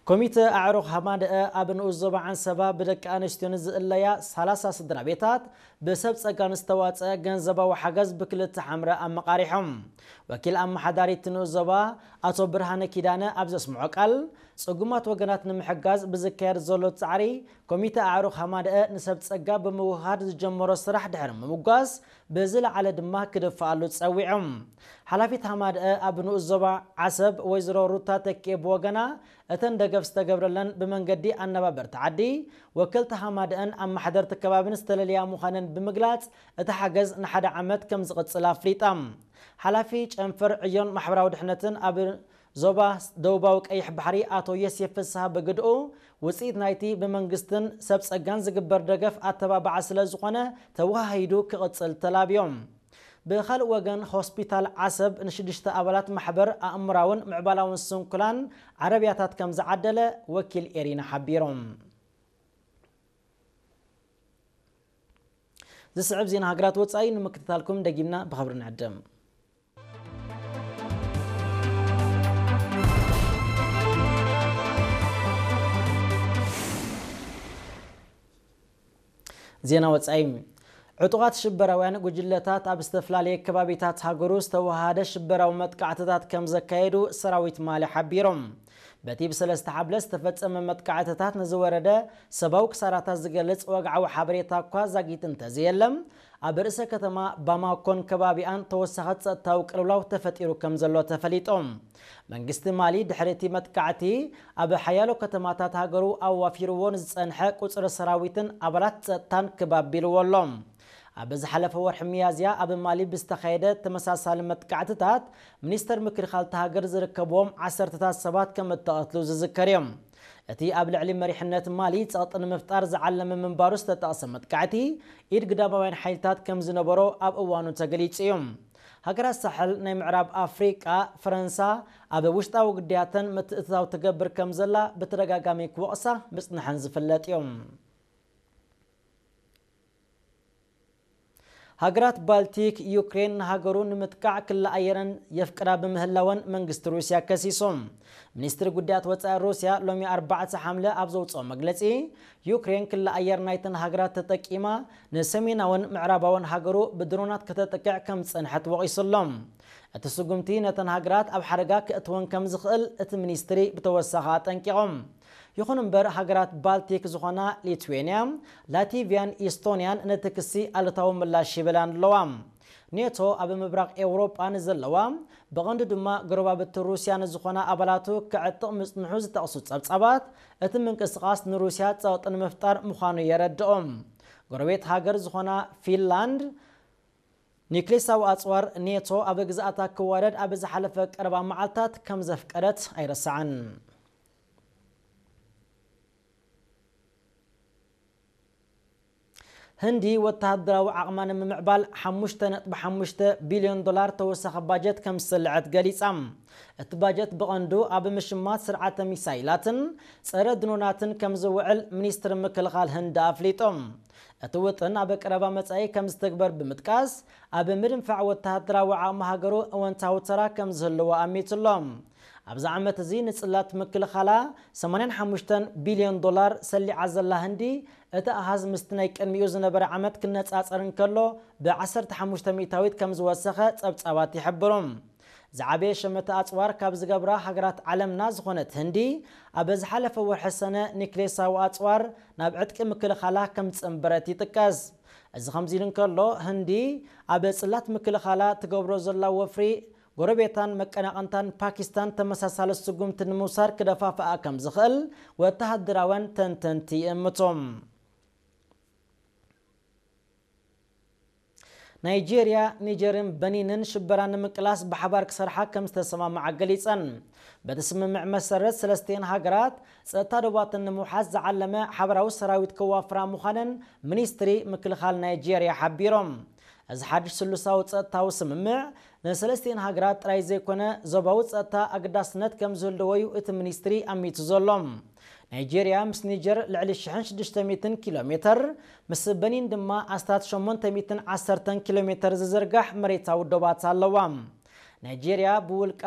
ኮሚተ ኣዕሩኽ ሃማደአ ኣብ ንኡስ ዞባ ዓንሰባ ብደቂ ኣንስትዮ ንዝእለያ ሰላሳ ስድራ ቤታት ብሰብ ጸጋ ንዝተዋጸአ ገንዘባዊ ሓገዝ ብክልተ ሓምረ ኣመቓሪሖም። ወኪል ኣመሓዳሪት ንኡስ ዞባ ኣቶ ብርሃነ ኪዳነ ኣብ ዘስምዖ ቃል፣ ጽጉማት ወገናት ንምሕጋዝ ብዝካየድ ዘሎ ጻዕሪ፣ ኮሚተ ኣዕሩኽ ሃማደአ ንሰብ ጸጋ ብምውሃድ ዝጀመሮ ስራሕ ድሕሪ ምምጓስ፣ ብዝለዓለ ድማ ክድፍኣሉ ጸዊዖም። ሓላፊት ሃማደአ ኣብ ንኡስ ዞባ ዓሰብ ወይዘሮ ሩታ ተኪኤ ብወገና፣ እተን ደገፍ ዝተገብረለን ብመንገዲ ኣነባበርቲ ዓዲ፣ ወከልቲ ሃማደአን ኣመሓደርቲ ከባብን ዝተለለያ ምዃነን ብምግላጽ፣ እቲ ሓገዝ ንሓደ ዓመት ከም ዝቕጽል ኣፍሊጣ። ሓላፊ ጨንፈር ዕዮን ማሕበራዊ ድሕነትን ኣብ ዞባ ደቡባዊ ቀይሕ ባሕሪ ኣቶ የሴፍ ፍስሃ ብግድኡ፣ ውጽኢት ናይቲ ብመንግስትን ሰብ ጸጋን ዝግበር ደገፍ ኣተባባዓ ስለ ዝኾነ፣ ተወሃሂዱ ክቕጽል ተላብዮም። ብኻልእ ወገን፣ ሆስፒታል ዓሰብ ንሽዱሽተ ኣባላት ማሕበር ኣእምራውን ምዕባላውን ስንኩላን ዓረብያታት ከም ዝዓደለ ወኪል ኤሪና ሓቢሮም። ዝስዕብ ዜና ሃገራት ወጻኢ ንምክትታልኩም ደጊምና ብኽብሪ ንዕድም። ዜና ወጻኢ። ዕጡቓት ሽበራውያን ጉጅለታት ኣብ ዝተፈላለየ ከባቢታት ሃገሩ ዝተወሃደ ሽበራዊ መጥቃዕትታት ከም ዘካየዱ ሰራዊት ማሊ ሓቢሮም። በቲ ብሰለስተ ሓብለ ዝተፈጸመ መጥቃዕትታት ንዝወረደ ሰብኣዊ ክሳራታት ዝገልጽ ወግዓዊ ሓበሬታ እኳ ዛጊት እንተዘየለ፣ ኣብ ርእሰ ከተማ ባማኮን ከባቢኣን ተወሳኺ ጸጥታዊ ቅልውላው ተፈጢሩ ከም ዘሎ ተፈሊጡ። መንግስቲ ማሊ ድሕሪ እቲ መጥቃዕቲ ኣብ ሓያሎ ከተማታት ሃገሩ ኣዋፊርዎ ንዝጸንሐ ቁጽሪ ሰራዊትን ኣባላት ጸጥታን ክብ ኣቢልዎ ኣሎ። ኣብ ዝሓለፈ ወርሒ ሚያዝያ ኣብ ማሊ ብዝተኻየደ ተመሳሳሊ መጥቃዕትታት፣ ሚኒስተር ምክልኻል እታ ሃገር ዝርከብዎም ዓሰርተታት ሰባት ከም እተቐትሉ ዝዝከር እዩ። እቲ ኣብ ልዕሊ መሪሕነት ማሊ ጸቕጢ ንምፍጣር ዝዓለመ ምንባሩ ዝተጠቕሰ መጥቃዕቲ፣ ኢድ ግዳማውያን ሓይልታት ከም ዝነበሮ ኣብ እዋኑ ተገሊጹ እዩ። ሃገራት ሳሕል ናይ ምዕራብ ኣፍሪቃ፣ ፈረንሳ ኣብ ውሽጣዊ ግዳያተን ምትእትታው ትገብር ከም ዘላ ብተደጋጋሚ ክወቕሳ ምጽንሐን ዝፍለጥ እዩ። ሃገራት ባልቲክ፣ ዩክሬን ንሃገሩ ንምጥቃዕ ክልተ ኣየረን የፍቅዳ ብምህላወን መንግስቲ ሩስያ ከሲሱ። ሚኒስትሪ ጉዳያት ወጻኢ ሩስያ ሎሚ ኣርባዕተ ሓምለ ኣብ ዘውጽኦ መግለጺ፣ ዩክሬን ክልተ ኣየር ናይተን ሃገራት ተጠቂማ ንሰሜናውን ምዕራባውን ሃገሩ ብድሮናት ከተጥቅዕ ከም ዝጸንሐት ወቒሱ ኣሎ። እቲ ስጉምቲ ነተን ሃገራት ኣብ ሓደጋ ክእትወን ከም ዝኽእል እቲ ሚኒስትሪ ብተወሳኺ ኣጠንቂቖም። ይኹን እምበር፣ ሃገራት ባልቲክ ዝኾና ሊትዌንያ፣ ላቲቪያን ኢስቶንያን ነቲ ክሲ ኣሉታዊ ምላሽ ሂበላን ኣለዋ። ኔቶ ኣብ ምብራቕ ኤውሮጳ ንዘለዋ፣ ብቐንዱ ድማ ጎረባብቲ ሩስያ ንዝኾና ኣባላቱ ክዕጥቕ ምጽንሑ ዝጠቕሱ ጸብጻባት፣ እቲ ምንቅስቓስ ንሩስያ ጸቕጢ ንምፍጣር ምዃኑ የረድኦም። ጎረቤት ሃገር ዝኾና ፊንላንድ፣ ኒክሌሳዊ ኣጽዋር ኔቶ ኣብ ግዝኣታ ክዋደድ ኣብ ዝሓለፈ ቀረባ መዓልታት ከም ዘፍቀደት ኣይረሳዕን። ህንዲ ወተሃደራዊ ዓቕማ ንምምዕባል ሓሙሽተ ነጥቢ ሓሙሽተ ቢልዮን ዶላር ተወሳኺ ባጀት ከም ዝስልዐት ገሊጻ። እቲ ባጀት ብቐንዱ ኣብ ምሽማት ስርዓተ ሚሳይላትን ጸረ ድሮናትን ከም ዝውዕል ሚኒስትሪ ምክልኻል ህንዲ ኣፍሊጡ። እቲ ውጥን ኣብ ቀረባ መጻኢ ከም ዝትግበር ብምጥቃስ፣ ኣብ ምድንፋዕ ወተሃደራዊ ዓቕሚ ሃገሩ እወንታዊ ተራ ከም ዝህልዎ ኣሚቱ ኣሎ። ኣብዚ ዓመት እዚ ንጽላት ምክልኻላ ሰማንያን ሓሙሽተን ቢልዮን ዶላር ሰሊዓ ዘላ ህንዲ፣ እቲ ኣሃዝ ምስቲ ናይ ቅድሚኡ ዝነበረ ዓመት ክነጻጸር እንከሎ፣ ብ ዓሰርተ ሓሙሽተ ሚእታዊት ከም ዝወሰኸ ጸብጻባት ይሕብሩ። ዝዓበየ ሸመተ ኣጽዋር ካብ ዝገብራ ሃገራት ዓለምና ዝኾነት ህንዲ፣ ኣብ ዝሓለፈ ወርሒ ሰነ ኒክሌሳዊ ኣጽዋር ናብ ዕጥቂ ምክልኻላ ከም ዝጽንበረት ይጥቀስ። እዚ ከምዚ ኢሉ እንከሎ፣ ህንዲ ኣብ ጽላት ምክልኻላ ትገብሮ ዘላ ወፍሪ፣ ጎረቤታን መቀናቐንታን ፓኪስታን ተመሳሳሊ ስጉምቲ ንምውሳድ ክደፋፍኣ ከም ዝኽእል ወተሃደራውያን ተንተንቲ ይእምቱ። ናይጄርያ፣ ኒጀርን በኒንን ሽበራ ንምቅላስ ብሓባር ክሰርሓ ከም ዝተሰማምዓ ገሊጸን። በቲ ስምምዕ መሰረት፣ ሰለስቲኤን ሃገራት ጸጥታ ዶባተን ንምውሓስ ዝዓለመ ሓበራዊ ሰራዊት ከዋፍራ ምዃነን ሚኒስትሪ ምክልኻል ናይጄርያ ሓቢሮም። እዚ ሓድሽ ስሉሳዊ ጸጥታዊ ስምምዕ ንሰለስቲኤን ሃገራት ጥራይ ዘይኮነ፣ ዞባዊ ጸጥታ ኣገዳስነት ከም ዝህልዎ እዩ እቲ ሚኒስትሪ ኣሚቱ ዘሎ። ናይጄርያ ምስ ኒጀር ልዕሊ ሽሕን ሽዱሽተ ሚእትን ኪሎ ሜተር፣ ምስ በኒን ድማ ኣስታት ሸሞንተ ሚእትን ዓሰርተን ኪሎ ሜተር ዝዝርጋሕ መሬታዊ ዶባት ኣለዋ። ናይጄርያ ብውልቃ